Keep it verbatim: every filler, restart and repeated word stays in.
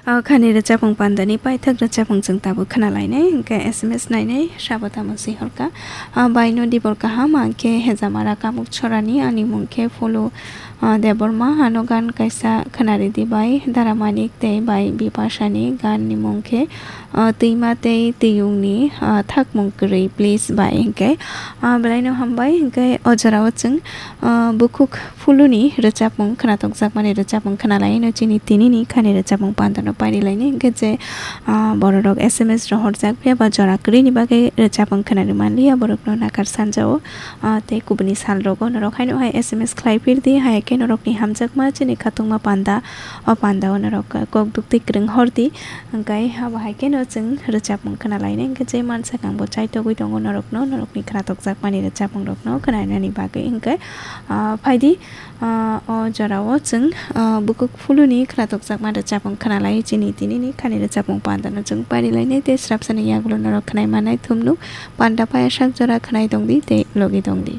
O khani rwchapmung pandani paithak rwchapmung chwng tabuk khna lainai, hwnkhe S M S nainai, sabo tamo swi horkha. A, baino dibor kaham, ang khe Hejamara Kamuk Chorani, ani mung khe Phulu, a, Debbarma, ano gan kaisa khna ridi bai Dara Manik tei bai Bipashani, gan ni mung khe, a, Twima tei Twiyungni, a, Thakmung Kwrwi, please bai, hwnkhe, a, belaino hambai, hwnkhe o jorao chwng, a, bukhuk Phuluni rwchapmung khna tokjakmani rwchapmung khna laino chini tinini khani rwchapmung pandano pairi laini hwnkhe je, ah, bororok S M S rohorjak phiya ba jora kwrwini bagwi rwchapmung khna rwmanliya borokno nakar sanjao, ah, tei kubuni salrogo norok haino hai S M S khlai phirdi, hai khe norokni hamjakma chini khatungma panda, o pandao norok kok duktwi kwrwng hordi, hwnkhe abo hai kheno chwng rwchapmung khna laini hwnkhe je mansak angbo chaitogwi tongo norokno, norokni khna tokjakmani rwchapmungrokno khna rinani bagwi hwnkhe, ah, phaidi. Ah, o jorao chwng, ah, bukhuk Phuluni khna tokjakma rwchapmung khna lai chini tinini khani rwchapmung pandano chwng pairi lainai tei srapsani yagulo norok khnai manai thumnuk panda paya sak jora khnai tongdi tei logi tongdi.